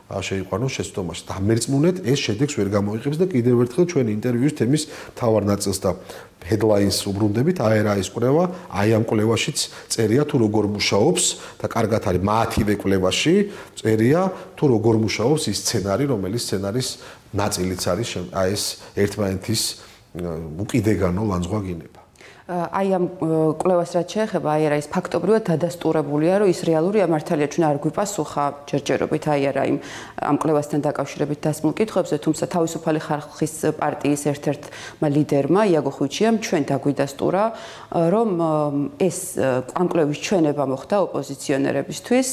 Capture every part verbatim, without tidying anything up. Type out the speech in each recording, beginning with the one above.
შეიყვანოს შეცდომაში. დამერწმუნეთ ეს შედეგს ვერ გამოიყენებს და კიდევ ერთხელ ჩვენი ინტერვიუის თემის მთავარ ნაწილს და headlines უბრუნდებით აერაის კვლევა, აი ამ კვლევაშიც წერია თუ როგორ მუშაობს და კარგად არის მათივე კვლევაში წერია თუ როგორ მუშაობს ის სცენარი, რომელიც სცენარის ნაწილიც არის აი ეს ერთმანეთის უკიდეგანო ლანძღვაგინება. აი ამ კვლევას რაც შეეხება აერაის ფაქტობრივად დადასტურებულია, რომ ის რეალურია მართალია ჩვენ არ გვიპასუხა ჯერჯერობით აერაიმ ამ კვლევასთან დაკავშირებით დასმულ კითხვებზე, თუმცა თავისუფალი ხალხის პარტიის ერთ-ერთმა ლიდერმა იაგო ხვიჩიამ ჩვენ დაგვიდასტურა, რომ ეს ამ კვლევის ჩვენება მოხდა ოპოზიციონერებისთვის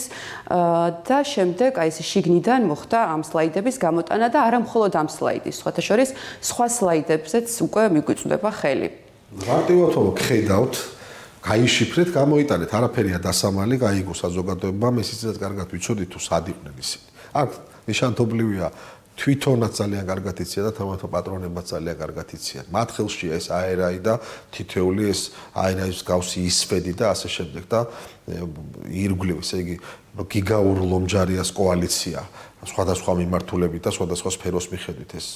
და შემდეგ აი ეს შიგნიდან მოხდა ამ სლაიდების გამოტანა და არა მხოლოდ ამ სლაიდის, სხვათა შორის სხვა სლაიდებზეც უკვე მიგვიწვდება ხელი. მარტივად ვხედავთ, გაიშიფრეთ, გამოიტანეთ, არაფერია დასამალი, გაიგო საზოგადოებამ, ესეც კარგად ვიცოდით თუ სად იყვნენ ისინი. აქ ნიშანთობლივია თვითონაც ძალიან კარგად იციან და თამათო პატრონებმაც ძალიან კარგად იციან. მათ ხელშია ეს აერაი და თითეული ეს აერაის გავსი ისვედი და ასე შემდეგ და ირგვლივ, ესე იგი გიგაურლომჯარიას კოალიცია სხვადასხვა მიმართულებით და სხვადასხვა სფეროს მიხედვით ეს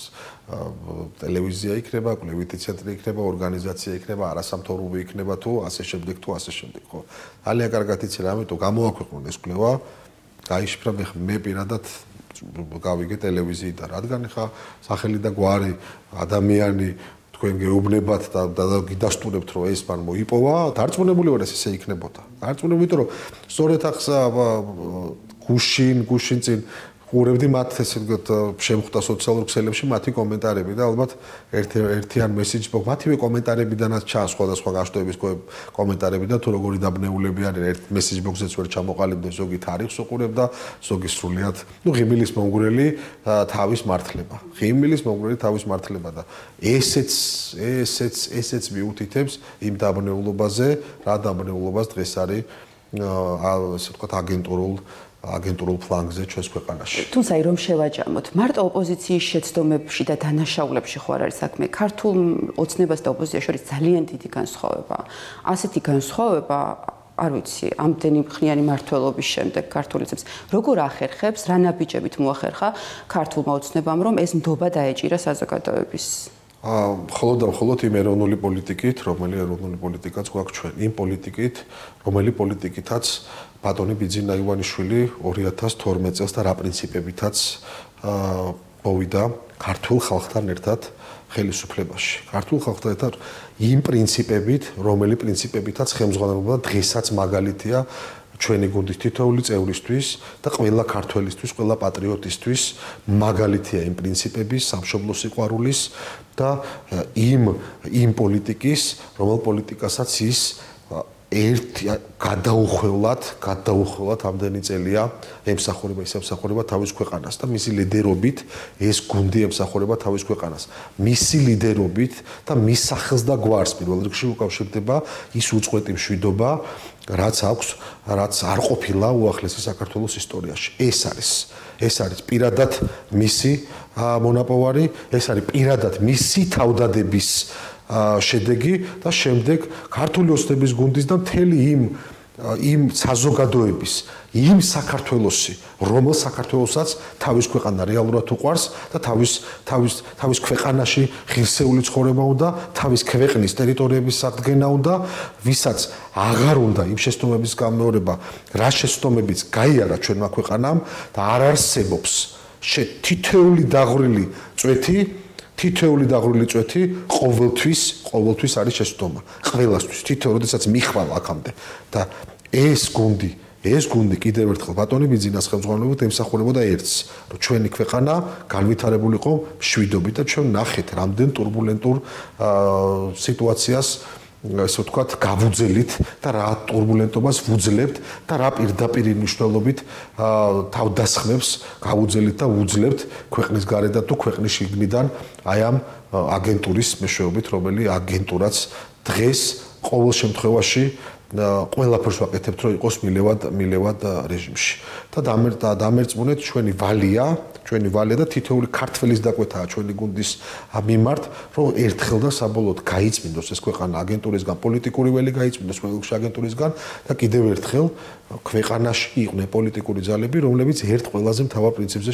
ტელევიზია იქნება, კვლევითი ცენტრი იქნება, ორგანიზაცია იქნება, არასამთავრობო იქნება თუ ასე შემდეგ თუ ასე შემდეგ, ხო. ძალიან კარგად იციან, ამიტომ გამოაქვეყნონ ეს კვლევა, გაიშიფრა მე პირადად გავიგე ტელევიზიიდან, რადგან ხა სახელი და გვარი ადამიანი თქვენ გეუბნებათ და გიდასტურებთ რომ ეს მან მოიპოვა, დარწმუნებული ვარ ეს ესე იქნებოდა. დარწმუნებული, იმიტომ რომ სწორედ ახსა გუშინ, გუშინ წინ ხურებდი მათ ესე ვთქვათ შემხვდა სოციალურ ქსელებში მათი კომენტარები და ალბათ ერთი ერთიან მესიჯს მოგ მათივე კომენტარებიდანაც ჩანს სხვადასხვა გაშტოების კომენტარები და თუ როგორი დაბნეულები არიან ერთ მესიჯ ბოქსზეც ვერ ჩამოყალიბდა ზოგი თარიღს უყურებდა ზოგი სრულიად ნუ ღიმილის მომგვრელი თავის მართლება ღიმილის მომგვრელი თავის მართლება და ესეც ესეც ესეც მიუთითებს იმ დაბნეულობაზე რა დაბნეულობას დღეს არის ასე ვთქვათ აგენტურულ აგენტურულ ფლანგზე ჩვენს ქვეყანაში. თუმცა რომ შევაჯამოთ, მარტო ოპოზიციის შეცდომებში და დანაშაულებში ხო არ არის საქმე. ქართულ ოცნებას და ოპოზიციას შორის ძალიან დიდი განსხვავება. ასეთი განსხვავება, არ ვიცი, ამდენი ხნიანი მმართველობის შემდეგ ქართულიცებს როგორ ახერხებს, რა ნაბიჯებით მოახერხა ქართულმა ოცნებამ, რომ ეს ნდობა დაეჭირა საზოგადოების მხოლოდ და მხოლოდ იმ ეროვნული პოლიტიკით, რომელი ეროვნული პოლიტიკაც გვაქვს ჩვენ, იმ პოლიტიკით, რომელი პოლიტიკითაც ბატონი ბიძინა ივანიშვილი ორი ათას თორმეტ წელს და რა პრინციპებითაც მოვიდა ქართულ ხალხთან ერთად ხელისუფლებაში. ქართულ ხალხთან ერთად იმ პრინციპებით, რომელი პრინციპებითაც ხელმძღვანელობდა დღესაც მაგალითია ჩვენი გუნდის თითოეული წევრისთვის და ყველა ქართველისთვის, ყველა პატრიოტისთვის მაგალითია იმ პრინციპების, სამშობლო სიყვარულის და იმ იმ პოლიტიკის, რომელ პოლიტიკასაც ის ერთი გადაუხვევლად, გადაუხვევლად ამდენი წელია ემსახურება, ის ემსახურება თავის ქვეყანას და მისი ლიდერობით ეს გუნდი ემსახურება თავის ქვეყანას. მისი ლიდერობით და მის სახელს და გვარს პირველ რიგში უკავშირდება ის უწყვეტი მშვიდობა, რაც აქვს, რაც არ ყოფილა უახლესი საქართველოს ისტორიაში. ეს არის, ეს არის პირადად მისი მონაპოვარი, ეს არის პირადად მისი თავდადების შედეგი და შემდეგ ქართული ოცნების გუნდის და მთელი იმ იმ საზოგადოების, იმ საქართველოსი, რომელ საქართველოსაც თავის ქვეყანა რეალურად უყვარს და თავის თავის თავის ქვეყანაში ღირსეული ცხოვრება უნდა, თავის ქვეყნის ტერიტორიების სადგენა უნდა, ვისაც აღარ უნდა იმ შეცდომების გამეორება, რა შეცდომებიც გაიარა ჩვენმა ქვეყანამ და არ არსებობს თითოეული დაღვრილი წვეთი თითოეული დაღვრილი წვეთი ყოველთვის, ყოველთვის არის შეცდომა. ყველასთვის, თითო როდესაც მიხვალ აქამდე და ეს გუნდი, ეს გუნდი კიდევ ერთხელ ბატონი ბიძინას ხელმძღვანელობით ემსახურებოდა ერთს, რომ ჩვენი ქვეყანა განვითარებულიყო მშვიდობით და ჩვენ ნახეთ რამდენ турბულენტურ სიტუაციას ესე ვთქვათ, გავუძელით და რა турბულენტობას ვუძლებთ და რა პირდაპირ მნიშვნელობით თავდასხმებს გავუძელით და ვუძლებთ ქვეყნის გარედან თუ ქვეყნის შიგნიდან აი ამ აგენტურის მეშვეობით, რომელი აგენტურაც დღეს ყოველ შემთხვევაში ყველაფერს ვაკეთებთ, რომ იყოს მილევად მილევად რეჟიმში. და დამერწმუნეთ ჩვენი ვალია, ჩვენი ვალია და თითოეული ქართველის დაკვეთაა ჩვენი გუნდის მიმართ, რომ ერთხელ და საბოლოოდ გაიწმინდოს ეს ქვეყანა აგენტურისგან, პოლიტიკური ველი გაიწმინდოს ყველგან აგენტურისგან და კიდევ ერთხელ ქვეყანაში იყვნენ პოლიტიკური ძალები, რომლებიც ერთ ყველაზე მთავარ პრინციპზე